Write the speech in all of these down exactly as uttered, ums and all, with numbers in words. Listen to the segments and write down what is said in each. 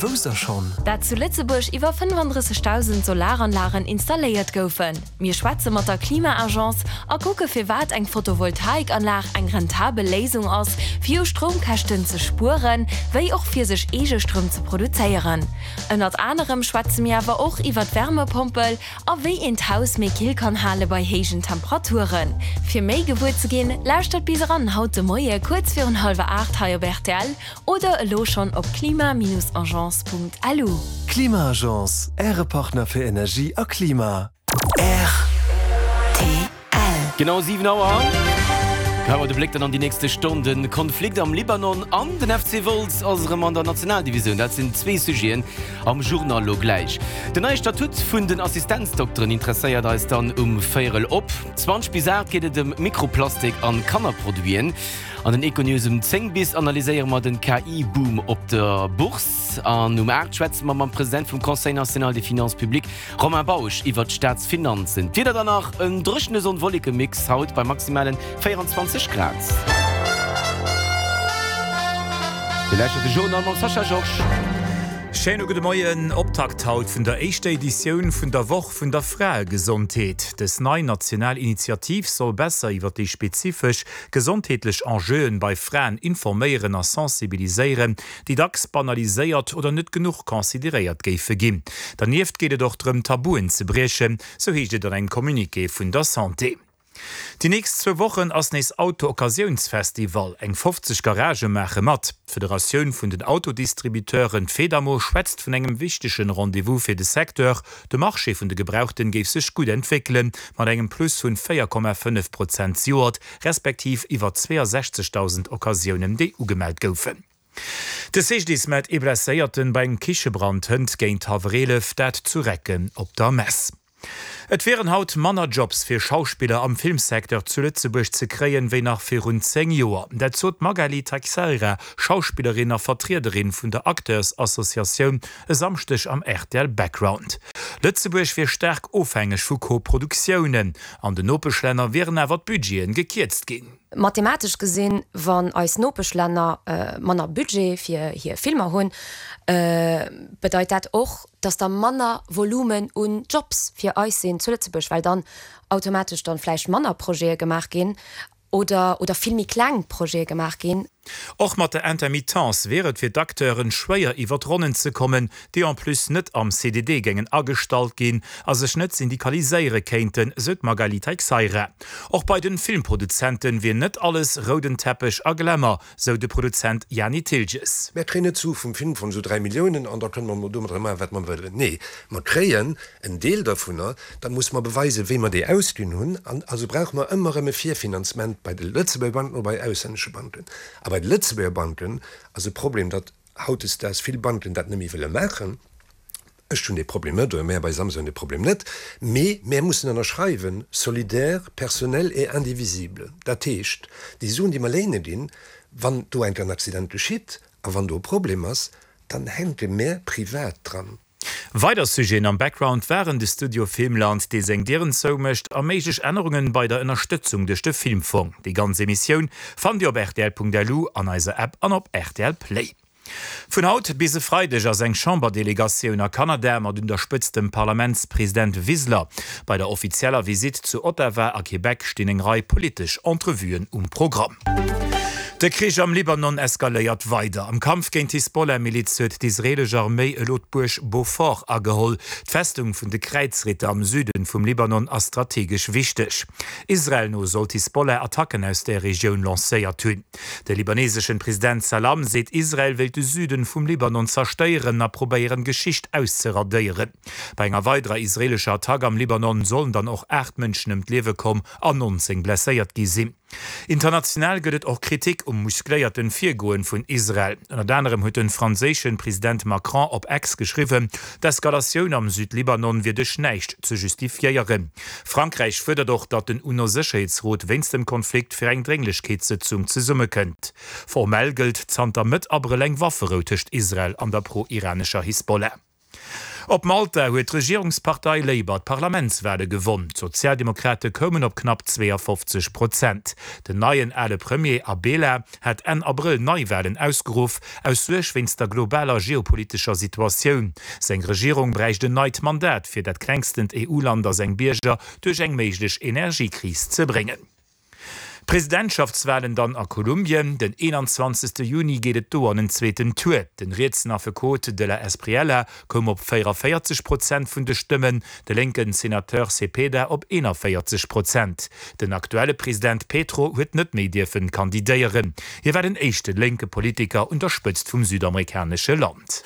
Wousst der schonn? Dat zu Lëtzebuerg iwwer fënnefandrëssegdausend Solaranlagen installéiert goufen. Mir schwätze mat der Klima-Agence a kucke firwat eng Photovoltaikanlag eng rentabel Léisung ass, fir u Stroumkäschten ze spueren, wéi och fir sech eege Stroum ze produzéieren. Ënnert anerem schwätze mir awer och iwwer d'Wärmepompel a wéi een d'Haus méi kill kann hale bei héijen Temperaturen. Fir méi gewuer ze ginn, lauschtert bis eran haut de Moie kuerz virun hallwer aacht hei op rtl oder elo schonn op klima-agence.lu. Klima-Agence, Äre Partner fir Energie a Klima. Rtl. Genau siwen Auer. Geheie mer de Bléck dann an déi nächste Stonn. De Konflikt am Libanon an den F C Wolz ass erëm an der Nationaldivisioun. Dat sinn zwee Sujeten am Journal lo gläich. Den neie Statut vun den Assistenzdokteren interesséiert eis dann um Véierel op zwanzeg bis aacht geet et ëm Mikroplastik an Kannerproduiten. An den Econews um zéng bis analyséiere mer den K I-Boom op der Bourse. An um aacht schwätze mer mam President vum Conseil national des finances publiques, Romain Bausch, iwwer d'Staatsfinanzen. D'Wieder dann nach, en dréchene Sonn-Wolleke-Mix haut bei maximalen véierenzwanzeg Grad. Dir lauschtert de Journal mam Sascha Georges. Schéine gudde Moien. Optakt haut vun der éischter Editioun vun der Woch vun der Fraegesondheet. Dës nei national Initiativ soll besser iwwer déi spezifesch gesondheetlech Enjeuen bei Fraen informéieren a sensibiliséieren, déi dacks banaliséiert oder net genuch consideréiert géife ginn. Dernieft geet et och drëm, Tabuen ze briechen, sou heescht et an engem Communiqué vun der Santé. Déi nächst zwou Wochen ass nees Auto-Occasiounsfestival. Eng fofzeg Garagë maache mat. D'Federatioun vun den Autodistributeuren, d'Fedamo, schwätzt vun engem wichtegen Rendez-vous fir de Secteur. De Marché vun de Gebrauchten géif sech gutt entwéckelen, mat engem Plus vun véier Komma fënnef Prozent zejoert, respektiv iwwer zweeasechzegdausend Occasiounen, déi ugemellt goufen. De C G D I S mellt ee Blesséierten bei engem Kichebrand hënt géint hallwer eelef, dat zu Recken op der Mess. Et wieren haut manner Jobs fir Schauspiller am Filmsecteur zu Lëtzebuerg ze kréien, wéi nach virun zéng Joer. Dat sot d'Magali Teixeira, Schauspillerin a Vertriederin vun der Acteursassociatioun, e Samschdeg am R T L Background. Lëtzebuerg wier staark ofhängeg vu Koproduktiounen. An den Nopeschlänner wieren awer d'Budgeten gekierzt ginn. Mathematesch gesinn, wann eis Nopeschlänner manner Budget fir hir Filmer hunn, bedeit dat och, dass da manner Volumen un Jobs fir eis sinn zu Lëtzebuerg, well dann automatesch dann vläicht manner Projete gemaach ginn oder oder vill méi kleng Projete gemaach ginn. Och mat der Intermittence wier et fir d'Acteuren schwéier iwwer d'Ronnen ze kommen, déi en plus net am C D D géingen agestallt ginn a sech net syndikaliséiere kéinten, sou d'Magali Teixeira. Och bei den Filmproduzenten wier net alles rouden Teppech a Glamour, sou de Produzent Jani Thiltges. Mär kréien net Sue vum Filmfong, sou dräi Milliounen, an da kënne mer domadder maachen, wat mer wëllen. Nee, mer kréien en Deel dovunner, da musse mer beweisen, wéi mer déi ausginn hunn. An also brauche mer ëmmer erëm e Virfinanzement bei de Lëtzebuerger Banken oder bei auslännesche Banken. A bei de Lëtzebuerger Banken ass e Problem, datt hautdesdaags vill Banken dat net méi wëlle maachen. Ech hunn dee Problem net, oder mär bei Samsung hunn dee Problem net, mee mär mussen ënnerschreiwen, solidaire, personnel et indivisible. Dat heescht, déi Suen, déi mer léine ginn, wann do enk en Accident geschitt a wann do e Problem ass, dann hänke mär privat dran. Weider Sujeten am Background waren de Studio Filmland, dee seng Dieren zoumécht, a méiglech Ännerungen bei der Ënnerstëtzung duerch de Filmfong. Déi ganz Emissioun fannt Dir op R T L Punkt L U, an eiser App an op R T L Play. Vun haut bis e Freideg ass eng Chamberdelegatioun a Kanada mat un der Spëtzt dem Parlamentspresident Wiseler. Bei der offizieller Visitt zu Ottawa a Québec stinn eng Rei politesch Entrevuen um Programm. De Krich am Libanon eskaléiert weider. Am Kampf géint d'Hisbollah-Miliz huet d'israeelesch Arméi elo d'Buerg Beaufort ageholl. D'Festung vun de Kräizritter am Süden vum Libanon ass strategesch wichteg. Israel no soll d'Hisbollah Attacken aus der Regioun lancéiert hunn. De libaneseschen President Salam seet, Israel wéilt de Süden vum Libanon zerstéieren a probéieren, Geschicht auszeradéieren. Bei enger weiderer israeelescher Attack am Libanon sollen dann och aacht Mënschen ëm d'Liewe komm an nonzéng blesséiert gi sinn. International gëtt et och Kritik um muskléierten Virgoen vun Israel. Ënnert anerem huet de franséischen President Macron op X geschriwwen, d'Eskalatioun am Südlibanon wier duerch näischt ze justifiéieren. Frankräich fuerdert och, datt den UNO-Sécherheetsrot wéinst dem Konflikt fir eng Drénglechkeetssëtzung zesummekënnt. Formell gëllt zanter Mëtt Abrëll eng Wafferou tëscht Israel an der pro-iranescher Hisbollah. Op Malta huet d'Regierungspartei Labour d'Parlamentswale gewonn. D'Sozialdemokrate koumen op knapp zweeafofzeg Prozent. Den neien ale Premier Abela hat Enn Abrëll Neiwalen ausgeruff, aus Suerg wéinst der globaler geopolitescher Situatioun. Seng Regierung bräicht en neit Mandat, fir dat klengstent E U-Land a seng Bierger duerch eng méiglech Energiekris ze bréngen. Presidentschaftswalen dann a Kolumbien, Den eenanzwanzegste Juni geet et do an en zweeten Tour. Den rietsen Affekot de la Espriella koum op véierunvéierzeg Prozent vun de Stëmmen, de lénken Senateur Cepeda op eenavéierzeg Prozent. Den aktuelle President Petro huet net méi dierfen kandidéieren. Hie war den éischte lénke Politiker un der Spëtzt vum südamerikanesche Land.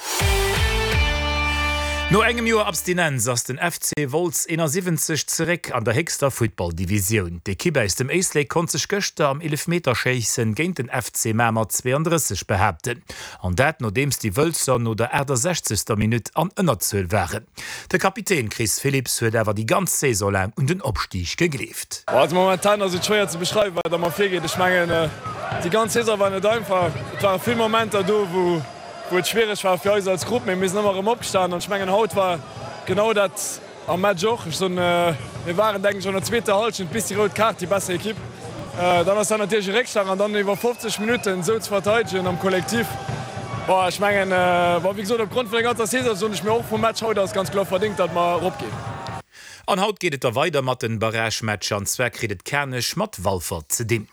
No engem Joer Abstinenz ass den F C Wolz eenasiwwenzeg zeréck an der héchster Futtballdivisioun. D'Ekipp aus dem Éislek konnt sech gëschter am Eelefmeterschéissen géint den F C Mamer zweeandrësseg behaapten. An dat nodeems déi Wëlzer no der aachtasechzegster Minutt an Ënnerzuel waren. De Kapitän Chris Philipps huet awer déi ganz Saison laang un den Opstig gegleeft. Also momentan ass et schwéier ze beschreiwen, wat a mer virgeet. Ech mengen, déi ganz Saison war net einfach. Et ware vill Momenter do, wou wou et schwiereg war fir eis als Grupp, mee mir sinn ëmmer erëm opgestan an ech mengen haut war genau dat am Match och. Ech soen, mir waren denken ech an der zweeter Hallschent bis déi rout Kaart déi besser Ekipp. Dann ass dat natierlech e Réckschlag an dann iwwer fofzeg Minutten esou ze verteidegen am Kollektiv, boah, ech mengen, bon, wéi gesot, opgrond vun der ganzer Saison soen ech mir och vum Match haut ass ganz kloer verdéngt, datt mer eropginn. An haut geet et da weider mat den Barragematcher, an zwar kritt et Kanech mat Walfer ze dinn.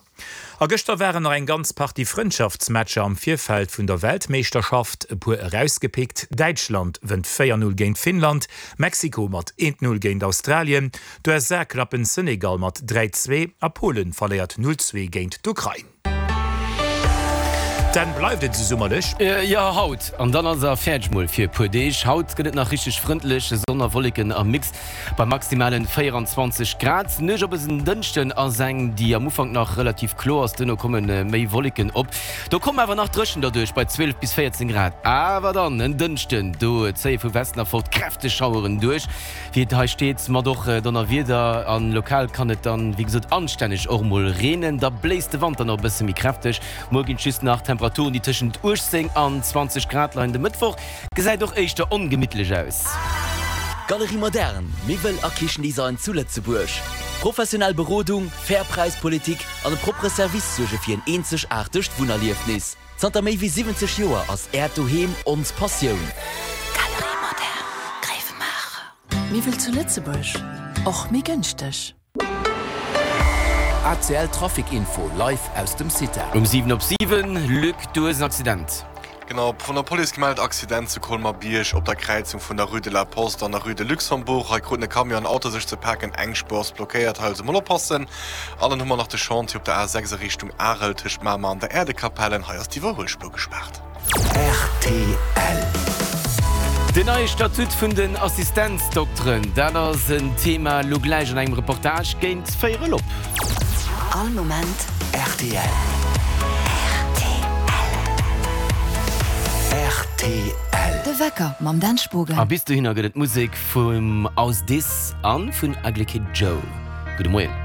A gëschter waren nach eng ganz Partie Frëndschaftsmatcher am Virfeld vun der Weltmeeschterschaft, e puer erausgepickt, Däitschland wënnt véier Null géint Finnland, Mexiko mat eent Null géint Australien, d'U S A klappen Senegal mat dräi zwee a Polen verléiert null zwee géint d'Ukrain. Dann bleift et esou summerlech. Jo, haut an dann ass er fäerdeg mol fir e puer Deeg. Haut gëtt et nach richteg frëndlech, Sonn a Wolleken am Mix bei maximalen véieranzwanzeg Grad. D'Nuecht op en Dënschden ass eng, déi am Ufank nach relativ kloer ass, duerno komme méi Wolleken op. Do kommen awer nach Dréchent derduerch bei zwielef bis véierzéng Grad. Awer dann en Dënschden, do zéie vu Westen erfort kräfteg Schaueren duerch, wéi et hei steet, mat och Donnerwieder an lokal kann et dann, wéi gesot, anstänneg och mol reenen. Da bléist de Wand dann och e bësse méi kräfteg. Muer ginn et just nach Temperaturen, déi tëschent uechtzéng an zwanzeg Grad leien. De Mëttwoch gesäit och éischter ongemittlech aus. Galerie Moderne, Miwwel a Kichendesign zu Lëtzebuerg. Professionell Berodung, fair Präispolitik an e proppere Service suerge fir en eenzegaartegt Wunnerliefnis. Zanter méi wéi siwwenzeg Joer ass Äert Doheem ons Passioun. Galerie Moderne, Gréiwemaacher. Miwwel zu Lëtzebuerg, och méi gënschteg. A C L Trafic Info live aus dem Cita. Um siwen op siwen, Luc, du hues en Accident. Genau, vun der Police gemellt, Accident zu Colmar-Bierg op der Kräizung vun der Rue de la Poste an der Rue de Luxembourg. Hei kruten e Camion an Auto sech ze paken, eng Spuer ass blockéiert, hei also mol oppassen. An dann hu mer nach de Chantier op der A sechs a Richtung Arel tëscht Mamer an der Äerdekapellen, hei ass d'Iwwerhuelspuer gespaart. R T L. Den neie Statut vun den Assistenzdokteren, dat ass en Thema lo gläich an engem Reportage géint véierel op. All Moment R T L. R T L. De Wecker mam Dan Spogen. A bis dohinner gëtt et Musek vum Aus Dis an vun Ugly Kid Joe. Gudde Moien.